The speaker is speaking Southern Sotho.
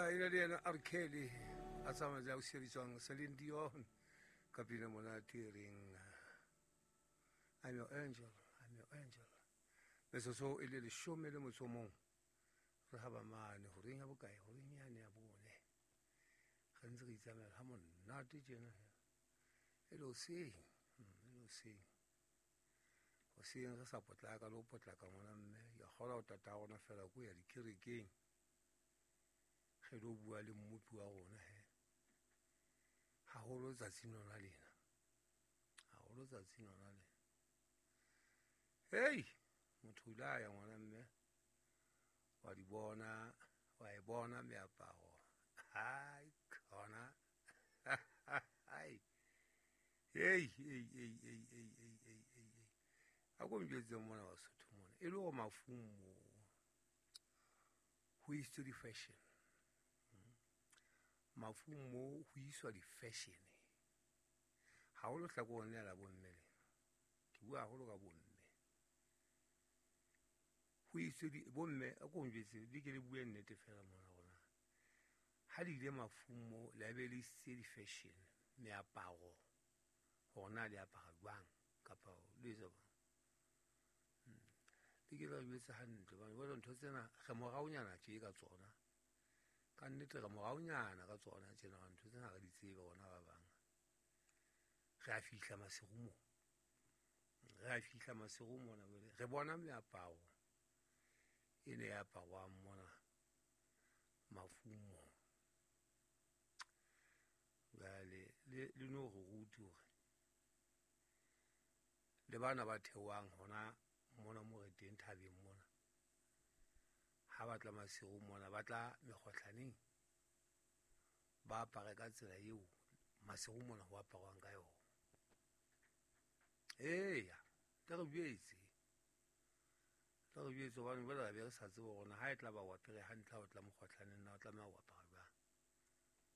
E ne le yena R. Kelly a tsamaya o sebitswang Celine Dion ka pina monate e reng I'm your angel, I'm your angel. Metsotso e le 11 re haba mane horeng ya bokae, horeng yane ya bone. Re ntse re itsamaela ha monate tjena. E le hoseng, e le hoseng. Hoseng re sa potlaka le ho potlaka ngwana mme, ya kgola ho tata rona fela ko ya dikerekeng. Re lo bua le mmopi wa rona he. Haholo tsatsing lona lena. Haholo tsatsing lona lena. Hei, motho o ile a ya ngwana mme. Wa di bona, wa e bona meaparo. Hai, khona. Hai. Hei, hei, hei, hei, hei, hei, hei, hei, hei. A ko njwetse mona wa Sotho mona. E le hore mafung mo. Ho isitswe di-fashion. Mafung mo ho iswa di-fashion. Haholo hlakoreng lena la bomme lena. Ke bua haholo ka bomme. Ho isitswe di, bomme, a ko njwetse, le ke le bue nnete fela mona rona. Ha le ile mafung mo, le be le isitse di-fashion, meaparo, hore na le apara jwang, kapa le etsa jwang. Le ke la jwetse hantle, hobane jwale ntho tsena re moraonyana tje ka tsona. Ka nnete re moraonyana ka tsona tjena, hobane ntho tsena ha re di tsebe rona ba bang. Re a fihla maseru moo. Re a fihla maseru mona jwale. Re bona meaparo e ne e aparwang mona mafung moo. Jwale le no re rute hore le bana ba theohang hona mona mo re teng thabeng mona, ha ba tla maseru mona, ba tla mekgohlaneng, ba apare ka tsela eo maseru mona ho aparwang ka yona. Eya, le re jwetse. Le re jwetse hobane jwale re be re sa tsebe hore na ha e tla ba o apere hantle ha o tla mokgohlaneng, na o tlameha ho apara.